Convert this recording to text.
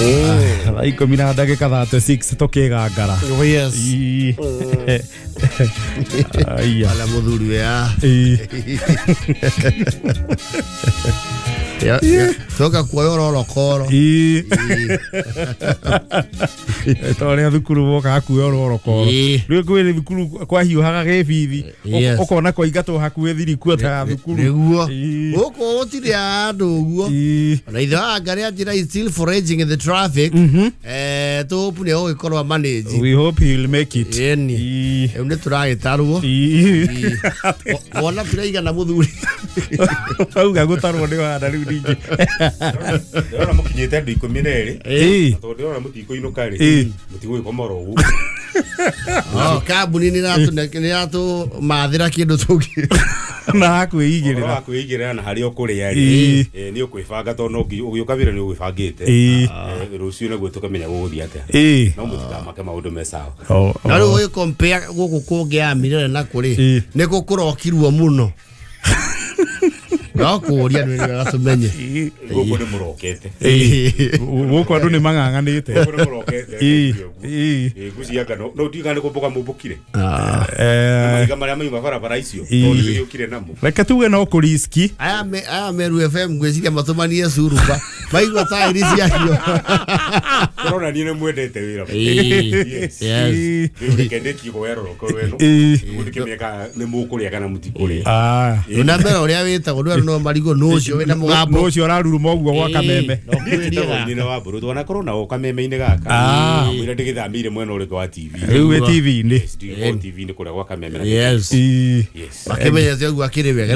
Thaa 10 na ndagĩka 36 tũkĩgangara. Oh, yes. Ii. Aya. Ala muthuri we ah. Ii. Toka kuoya ororokoro. Ii. Ta ũrĩa thukuru wokaga kuoya ũrorokoro. Ii. Rĩu kwĩ thukuru kwahiũhaga gĩbithi. Yes. Ũkona kwaingatwo hakuhĩ thirikua ta thukuru. Nĩguo. Ii. Gũkũ gũtirĩ andũ ũguo. Ii. Ona ithe wa ngarĩa njĩra is still foraging in the traffic. Tũpu nĩ ũgĩkorwo manage. We hope he will make it. Ĩni. Ii. Rĩu nĩ tũragĩtarwo. Ii. Wona tũraigana mũthuri. Auga gũtarwo nĩ wana rĩu ningĩ. Ndĩrona mũkinyĩte andũ 12. Ii. Na tondũ ndĩrona mũtikũinũka rĩ, Ĩĩ. mũtigũgĩkoma oro ũguo. Oh, kambuni nĩ ĩratũmathĩra kĩndũ tũngĩ. Na Ũhoro wa hakwĩigĩrĩra. kwĩigĩrĩra na harĩa ũkũrĩa Ĩĩ. rĩ, nĩ ũkwĩbanga tondũ no nginya ũgĩũka wĩra nĩ ũgwĩbangĩte. Ĩĩ. Rũciũ naguo tũkamenya gũgũthiĩ atĩa. Ĩĩ. No mũtikamake maũndũ me sawa. Oh, Na rĩu oh. ũgĩ compare gũkũ kũngĩ ya Mirere na kũrĩ Ĩĩ. nĩ kũ kũrokirwo mũno. No kũũria nĩ wega tũmenye. Gũkũ nĩ mũrokete. Ĩĩ. Gũkũ andũ nĩ mang'ang'anĩte. Gũkũ nĩ mũrokete. Ĩĩ. Ũguo. Ĩĩ. Ĩĩ, ngwĩciria anga no ndiũĩ kana nĩ kũmbũka mũmbũkire. Eh, Mahiga marĩa mauma barabara icio Ĩĩ. tondũ nĩgĩũkire namo. Reke tuge no kũriski. Aya Meru FM ngwĩciria matũmanie curuba maigua taĩri ciacio. Kũrona niĩ nĩ mwendete wĩra. Ĩĩ. Yes. Yes. Ĩĩ. Rĩu reke ndĩkie kuoya rũroko rwenu. Ĩĩ. Nĩguo ndĩkĩmenye kana nĩ mũkũrĩa kana mũtikũrĩa. Ah. Na mbere ũrĩa wĩtagwo ndwĩra no marigũ nũ ũcio wĩna mũgambo. Nũ ũcio ũraruruma ũguo gwa kameme. Ĩĩ, no kwĩrĩga. Nyina wa mbũrũ twanakorwo nao kameme-inĩ gaka. Ah. Mwĩra ndĩgĩthamĩire mwena ũrĩkũ wa TV. Rĩu wĩ TV-inĩ. Yes, ndĩ TV-inĩ kũrĩa gwa kameme. Yes. Ĩĩ. Yes. Makĩmenyete ũguo akĩrĩ wega.